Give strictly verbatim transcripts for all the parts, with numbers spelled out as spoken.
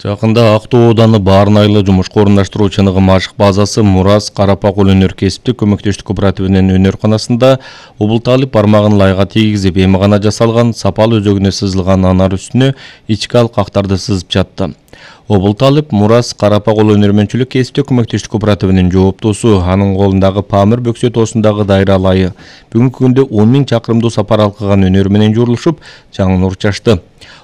Жакында Актоо ауданы Баарнайлы жумушка орундаштыруу чыныгы ашык базасы Мурас Карапа кол өнөр кесиптик көмөктөштүк кооперативинин өнөр-канасында Убулталип бармагын лайга тийгизип эми гана жасалган сапал өзөгүнө сызылган анар үстүнө ички алкактарды сызып жатты. Убулталип Мурас Карапа кол өнөрмөнчүлүк кесиптик көмөктөштүк кооперативинин жооптусу, анын колундагы Памир Бөксө тоосундагы дайра алайы бүгүнкү күндө он миң чакырымдуу сапар алкыган өнөр менен журулушуп, жаңы нур чачты.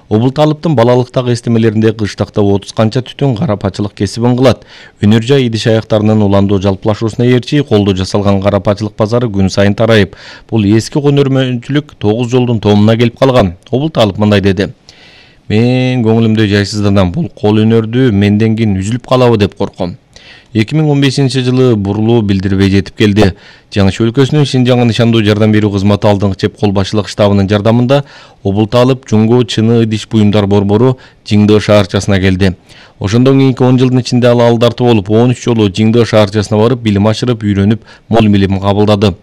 Убулталиптын балалыктагы эстемелеринде кыштакта отуз канча түтүн карапачылык кесибин кылат. Өнөр жай идиш аяктарынын уландуу жалпылашуусуна ээрчи колдо жасалган карапачылык базары күн сайын тарайып, бул эски өнөрмөнчүлүк тогуз жолдун томуна келип калган. Убулталип мындай деди: "Мен көңүлүмдө жайсызданам, бул кол өнөрдү менден кийин үзүлүп калабы деп корком. эки миң он бешинчи жылы бурулуу билдирбей жетип келди. Жаңы өлкөсүнүн Шинжаңга нышандуу жардам берүү кызматы алдыңкы чеп кол башчылык штабынын жардамында Убулталип Жумго чыны идиш буюмдар борбору Жиңдөө шаарчасына келди. Ошондон кийинки он жылдын ичинде ал алдарты болуп он үч жолу Жиңдөө шаарчасына барып билим ашырып, үйрөнүп, мол билим кабылдады.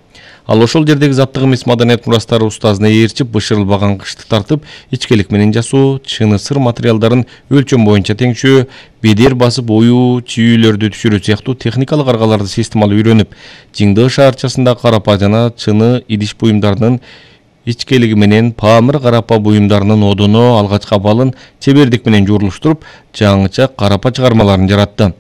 Ал ошол жердеги заттык эмес маданият мурастары устазына ээрчип, бышырылбаган кышты тартып, ичкелик менен жасоо, чыны сыр материалдарын өлчөм боюнча теңшөө, бедер басып оюу, чүйүүлөрдү түшүрүү сыяктуу техникалык аргаларды системалуу үйрөнүп, Жиңдөө шаарчасында карапа жана чыны идиш буюмдарынын ичкелиги менен Памир карапа буюмдарынын одоно алгачкы абалын чебердик менен журулуштуруп, жаңыча карапа чыгармаларын жаратты.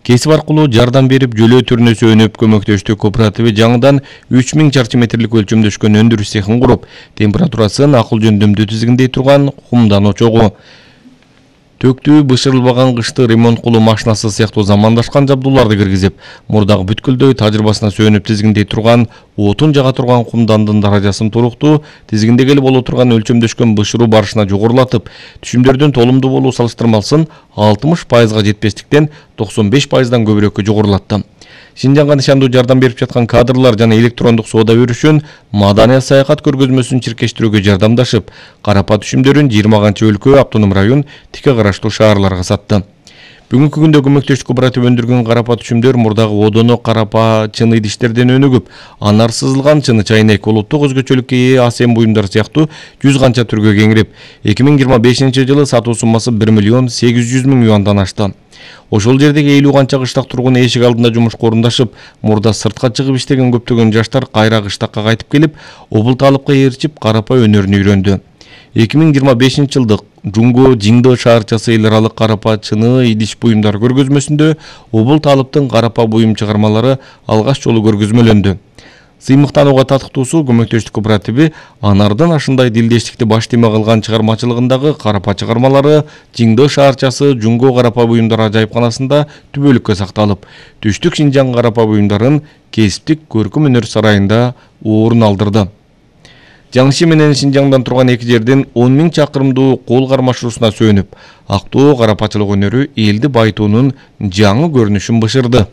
Кесип аркылуу жардам берип, жөлөө түрүнө сөнүп, көмөктөштүк кооперативи жаңыдан үч миң чарчы метрлик өлчөмдөшкөн өндүрүш цехин куруп, температурасын акыл жөндөмдүү тизгиндей турган кумдан очогу, төктүү бышырылбаган кышты ремонт кылуу машинасы сыяктуу замандашкан жабдууларды киргизип, мурдагы бүткүлдөй тажрыйбасына сөнүп тизгиндей турган отун жага турган кумдандын даражасын туруктуу, тизгиндегели боло турган өлчөмдөшкөн бышыруу барышына жогорулатып, түшүмдөрдүн толумдуу болуу салыштырмалсын алтымыш пайызга жетпестиктен токсон беш пайыздан көбүрөккө жогорулатты. Шинжаңга нышандуу жардам берип жаткан кадрлар жана электрондук соода өрүшүн маданият саякат көргөзмөсүн чиркештирүүгө жардамдашып, карапа түшүмдөрүн жыйырма канча өлкө, автоном район, тике караштуу шаарларга сатты. Бүгүнкү күндө көмөктөштүк кооператив өндүргөн карапа түшүмдөр мурдагы одоно карапа чыны идиштерден өнүгүп, анар сызылган чыны чайнек, улуттук өзгөчөлүккө ээ асем буюмдар сыяктуу жүз канча түргө кеңирип, эки миң жыйырма бешинчи жылы сатуу суммасы бир миллион сегиз жүз миң юандан ашты. Ошол жердеги элүү канча кыштак тургун эшик алдында жумушка орундашып, мурда сыртка чыгып иштеген көптөгөн жаштар кайра кыштакка кайтып келип, Убулталипка ээрчип карапа өнөрүн үйрөндү. эки миң жыйырма бешинчи жылдык Жумго Жиңдөө шаарчасы эл аралык карапа чыны идиш буюмдар көргөзмөсүндө Убулталиптын карапа буюм чыгармалары алгаш жолу көргөзмөлөндү. Сыймыктанууга татыктуусу көмөктөштүк кооперативи анардын ашындай дилдештикти баш тема кылган чыгармачылыгындагы карапа чыгармалары Жиңдөө шаарчасы Жумго карапа буюмдар ажайыпканасында түбөлүккө сакталып, түштүк Шинжаң карапа буюмдарын кесиптик көркөм өнөр сарайында орун алдырды. Жаңыши менен Шинжаңдан турган эки жердин он миң чакырымдуу кол кармашуусуна сөнүп, Актоо карапачылык өнөрү элди байытуунун жаңы көрүнүшүн бышырды.